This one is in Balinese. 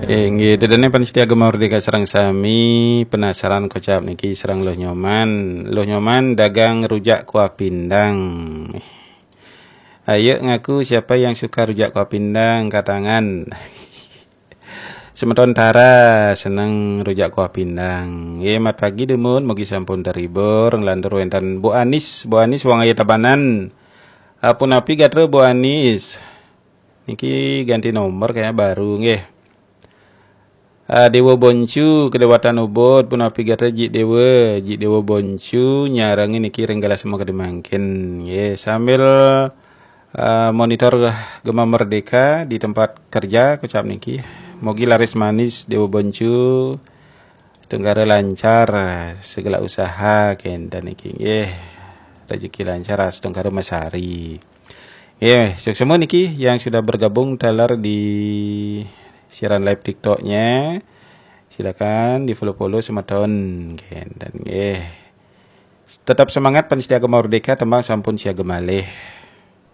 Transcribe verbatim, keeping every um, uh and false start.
Eh, nggih, dedene panitia Gema Merdeka sareng sami penasaran kocap niki sareng Luh Nyoman. Luh Nyoman dagang rujak kuah pindang. Ayo ngaku siapa yang suka rujak kuah pindang, angkat tangan. Semeton Tara seneng rujak kuah pindang. Nggih, mat pagi dumun, mugi sampun terhibur. Nglantur wenten Bu Anis, Bu Anis wong ayu Tabanan. Ah, punapi gatra Bu Anis? Niki ganti nomor kayaknya baru nggih. Ah, Dewa Boncu, Kedewatan Ubud, punapi gatra Jik Dewa, Jik Dewa Boncu, nyarengi niki ring galah semua gede mangkin. Nggih, sambil ah, monitor Gema Merdeka di tempat kerja, kocap niki. Mogi laris manis Dewa Boncu, setungkara lancar segala usaha kenten niki. Nggih, rezeki lancar setungkara masari. Nggih, suksma niki yang sudah bergabung taler di siaran live TikToknya. Silakan di-follow-follow semeton kenten nggih. Tetap semangat panitia Gema Merdeka, tembang sampun siaga malih.